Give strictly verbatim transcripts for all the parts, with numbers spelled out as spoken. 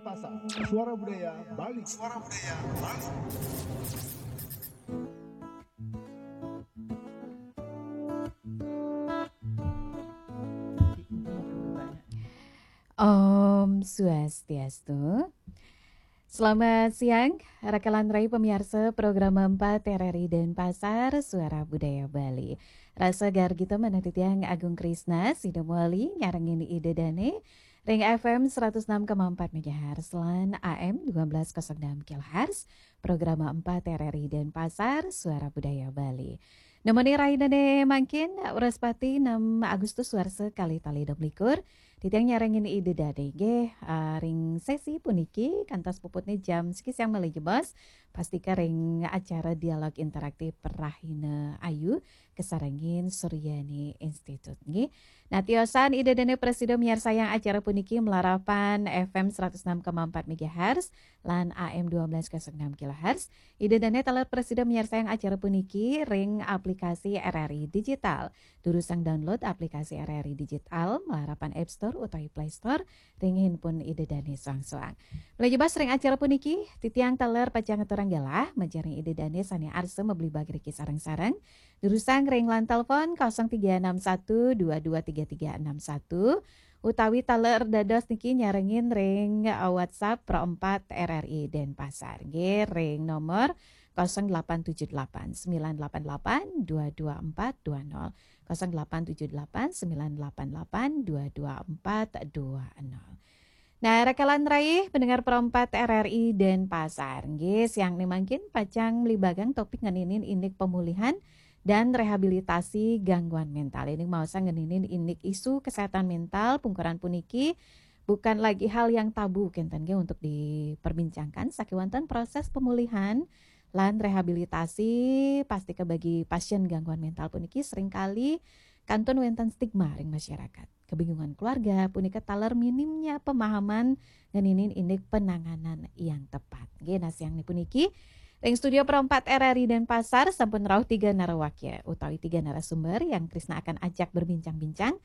Pasar, Suara Budaya Bali. Suara Budaya Bali. Om Swastiastu. Selamat siang, rakalan rai pamiarsa program empat R R I Denpasar, Suara Budaya Bali. Rasa gargita manah titiang Agung Krisna, sida mawali nyarengin Ida Dane, ring F M seratus enam koma empat megahertz lan A M dua belas kosong enam kilohertz, program empat R R I Denpasar, Suara Budaya Bali. Nemoni rainane mangkin, Wrespati enam Agustus warsa kalih tali dua likur, titiang nyarengin Ida Dane nggih, ah, ring sesi puniki, kantos puputne jam siki siang malih jebos, pastika ring acara dialog interaktif Rahina Ayu, kasarengin Suryani Institute nggih. Nah, tiosan Ida Dane prasida miarsayang acara puniki malarapan F M seratus enam koma empat megahertz lan A M dua belas kosong enam kilohertz. Ida Dane taler prasida miarsayang acara puniki ring aplikasi R R I Digital. Durusang download aplikasi R R I Digital malarapan App Store utawi Play Store ring handphone Ida Dane soang-soang. Malih jebos ring acara puniki, titiang taler pacang ngaturang galah majeng ring Ida Dane sane arsa mabligbaga riki sareng-sareng. Durusang ring line telepon kosong tiga enam satu dua dua tiga tiga enam satu, utawi taler dados niki nyarengin ring, eh, WhatsApp Pro empat R R I Denpasar. Nggih, ring nomor kosong delapan tujuh delapan sembilan delapan delapan dua dua empat dua nol. Kosong delapan tujuh delapan sembilan delapan delapan dua dua empat dua nol. Nah, rakalan rai pendengar Pro empat R R I Denpasar. Nggih, siang ni mangkin pacang mlibagang topik ngeninin indik pemulihan dan rehabilitasi gangguan mental. Ini maosang ngeninin indik isu kesehatan mental, pungkuran puniki bukan lagi hal yang tabu kenten nggih untuk diperbincangkan, sakewanten proses pemulihan lan rehabilitasi pastika bagi pasien gangguan mental puniki seringkali kantun wenten stigma ring masyarakat. Kebingungan keluarga punika taler minimnya pemahaman ngeninin indik penanganan yang tepat. Nggih, nah siang ni puniki ring studio Pro empat R R I Denpasar sampun rauh tiga narawakya utawi tiga narasumber yang Krisna akan ajak berbincang-bincang.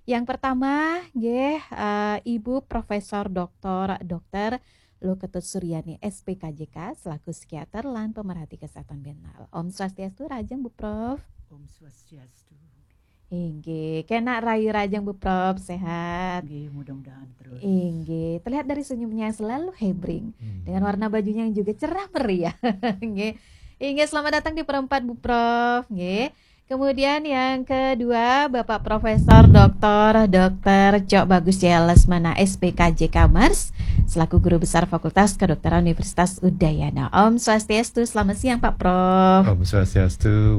Yang pertama, nggih, eh, Ibu Profesor Doktor Doktor Luketut Suryani, S P K J K, selaku psikiater lan pemerhati kesehatan mental. Om Swastiastu, rahajeng Bu Prof. Om Swastiastu. Inggih, kena rayu rahajeng Bu Prof, sehat. Nggih, mudah-mudahan terus. Inggih, terlihat dari senyumnya yang selalu hebring, Hmm. dengan warna bajunya yang juga cerah meriah. Nggih. Inggih, selamat datang di Pro empat Bu Prof, nggih. Kemudian yang kedua, Bapak Profesor Doktor Doktor Cok Bagus Jaya Lesmana, S P K J K Mers, selaku Guru Besar Fakultas Kedokteran Universitas Udayana. Om Swastiastu, selamat siang Pak Prof. Om Swastiastu,